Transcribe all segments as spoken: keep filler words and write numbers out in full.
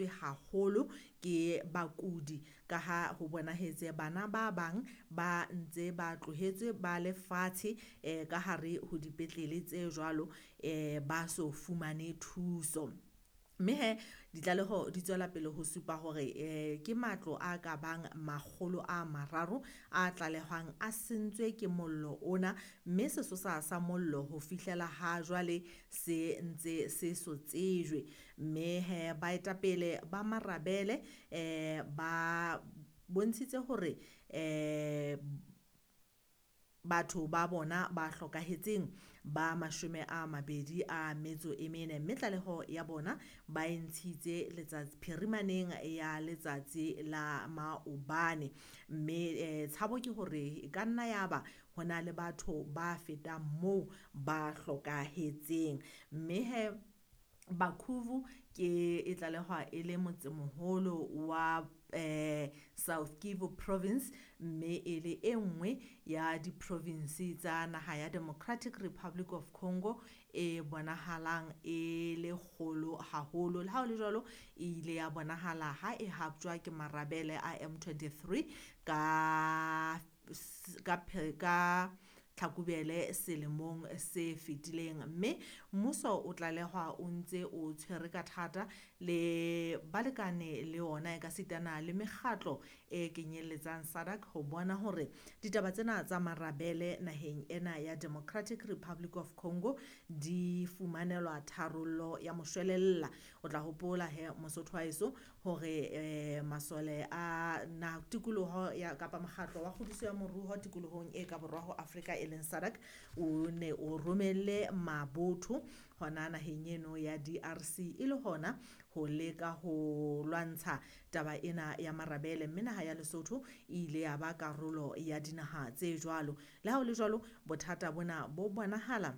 Haholo ke bakudi ka ha ho bonahetse bana ba bang ba ntse ba tlohetswe ba lefatshe eh ka hare ho dipetlele tse jwalo eh ba so fumane thuso. Mme he ditlaleho di tswela pele ho supa hore eh ke matlo a ka bang makgolo a mararo a tlalehwang a sentswe ke mollo ona, mme sesosa sa mollo ho fihlela ha jwale se ntse se so tsejwe. Mme he baetapele ba marabele eh ba bontshitse hore eh batho ba bona ba hlokahetseng ba mashome a mabedi a metso e mene, mme tlaleho ya bona ba e ntshitse letsatsi phirimaneng ya letsatsi la maobane. Mme eh tshabo ke hore e ka nna ya ba ho na le batho ba fetang moo ba hlokahetseng. Mme he Bakhuvu ke e tlalehwa e le motsemoholo wa eh South Kivu Province, mme e le e nngwe ya di-province tsa naha ya Democratic Republic of Congo e bonahalang e le kgolo haholo. Le ha ho le jwalo, e ile ya bonahala ha e haptjwa ke marabele a M twenty-three ka ka ka Tlhakubele selemong se fetileng. Mme mmuso o tlalehwa o ntse o tshwere ka thata le balekane le ona ekasitana le mekgatlo e kenyelletsang SADC ho bona hore ditaba tsena tsa marabele naheng ena ya Democratic Republic of Congo di fumanelwa tharollo ya moshwelella. O tla hopola he Mosotho wa heso hore eh masole a na tikoloho ya kapa mokgatlo wa kgodiso ya moruo tikolohong e ka borwa ho Afrika e leng SADC o ne o romelle mabotho hona naheng eno ya D R C e le hona ho leka ho lwantsha taba ena ya marabele, mme naha ya Lesotho e ile ya ba karolo ya dinaha tse jwalo. Le ha ho le jwalo, bothata bona bo bonahala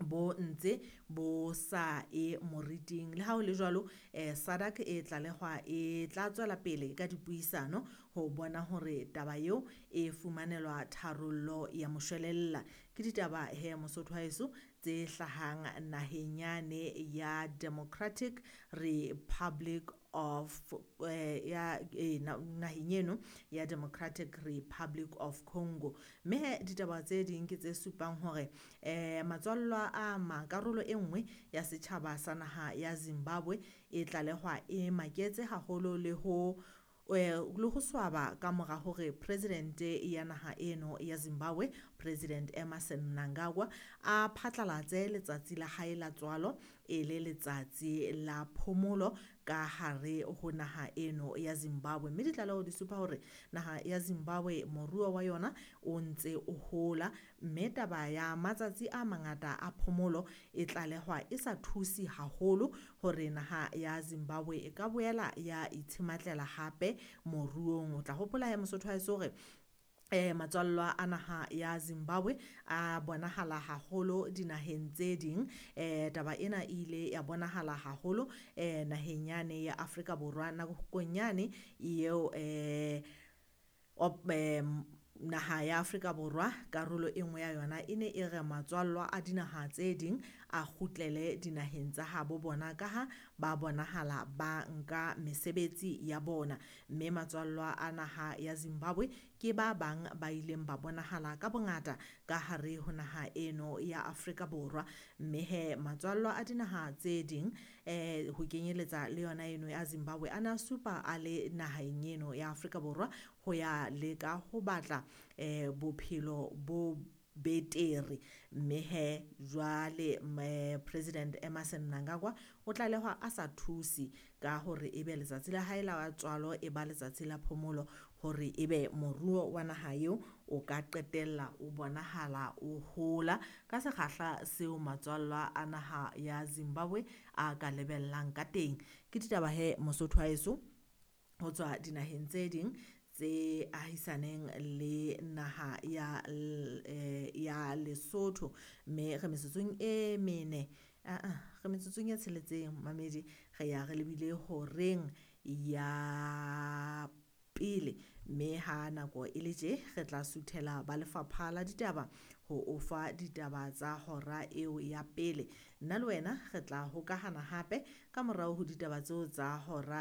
bo ntse bo sa e moriting. Le ha ho le jwalo, eh SADC e tlalehwa e tla tswela pele ka dipuisano ho bona hore taba eo e fumanelwa tharollo ya moshwelella. Ke ditaba he Mosotho wa heso tse hlahang naheng yane ya Democratic Republic of eh ya e naheng eno ya Democratic Republic of Congo. Mme he ditaba tse ding ke tse supang hore eh matswallwa a ma karolo e nngwe ya setjhaba sa naha ya Zimbabwe e tlalehwa e maketse haholo le ho le ho swaba ka mora hore president ya naha eno ya Zimbabwe President Emmerson Mnangagwa a phatlalatse letsatsi la hae la tswalo e le letsatsi la phomolo ka hare ho naha eno ya Zimbabwe. Mme ditlaleho di supa hore naha ya Zimbabwe moruo wa yona o ntse o hola, mme taba ya matsatsi a mangata a phomolo e tlalehwa e sa thuse haholo hore naha ya Zimbabwe e ka boela ya itshematlela hape moruong. O tla hopola ya Mosotho wa heso hore eh matswallwa a naha ya Zimbabwe a bonahala haholo dinaheng tse ding. Eh taba ena e ile ya bonahala haholo eh naheng yane ya Afrika Borwa nakong yane eo eh op eh, naha ya Afrika Borwa karolo e nngwe ya yona e ne e re matswallwa a dinaha tse ding a kgutlele dinaheng tsa habo bona ka ha ba bonahala ba nka mesebetsi ya bona. Mme matswallwa a naha ya Zimbabwe ke ba bang ba ileng ba bonahala ka bongata ka hare ho naha eno ya Afrika Borwa. Mme he matswallwa a dinaha tse ding eh ho kenyeletsa le yona eno ya Zimbabwe a na supa a le naheng eno ya Afrika Borwa ho ya leka ho batla eh bophelo bo betere. Mme he jwale President Emmerson Mnangagwa o tlalehwa a sa thuse ka hore ebe letsatsi la hae la tswalo e ba letsatsi la phomolo hore ebe moruo wa naha eo o ka qetella o bonahala o hola ka sekgahla seo matswallwa a naha ya Zimbabwe a ka lebellang ka teng. Ke ditaba he Mosotho wa heso ho tswa dinaheng tse ding tse ahisaneng le naha ya ya Lesotho. Mme re metsotsong e mene a a re metsotsong e tsheletseng mamedi re ya re lebile horeng ya pele, mme ha nako e le tje re tla suthela ba lefapha la ditaba ho o fa ditaba tsa hora eo ya pele. Nna le wena re tla hokahana hape ka morao ho ditaba tseo tsa hora.